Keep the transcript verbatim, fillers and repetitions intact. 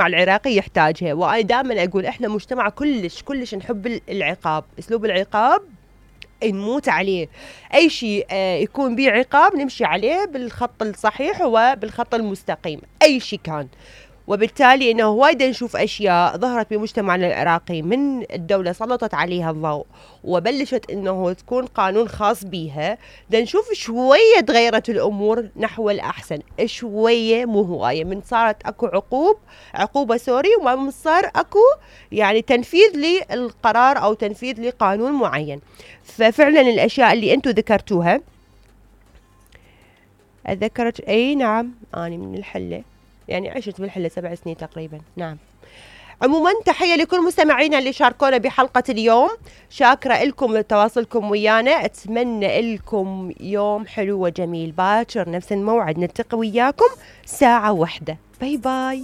العراقي يحتاجها. وأنا دائما أقول إحنا مجتمع كلش كلش نحب العقاب، أسلوب العقاب نموت عليه. أي شيء يكون بيه عقاب نمشي عليه بالخط الصحيح وبالخط المستقيم أي شيء كان. وبالتالي إنه وايد نشوف أشياء ظهرت بمجتمعنا العراقي من الدولة سلطت عليها الضوء وبلشت إنه تكون قانون خاص بيها، دا نشوف شوية تغيرت الأمور نحو الأحسن شوية مو هواية، من صارت أكو عقوب عقوبة سوري وما صار أكو يعني تنفيذ للقرار أو تنفيذ لقانون معين. ففعلا الأشياء اللي أنتو ذكرتوها أذكرت أي نعم أنا من الحلة يعني عشت بالحلة سبع سنين تقريبا. نعم. عموما تحية لكل مستمعينا اللي شاركونا بحلقة اليوم، شاكرة لكم تواصلكم ويانا، أتمنى لكم يوم حلو وجميل. باكر نفس الموعد نلتقي وياكم ساعة واحدة. باي باي.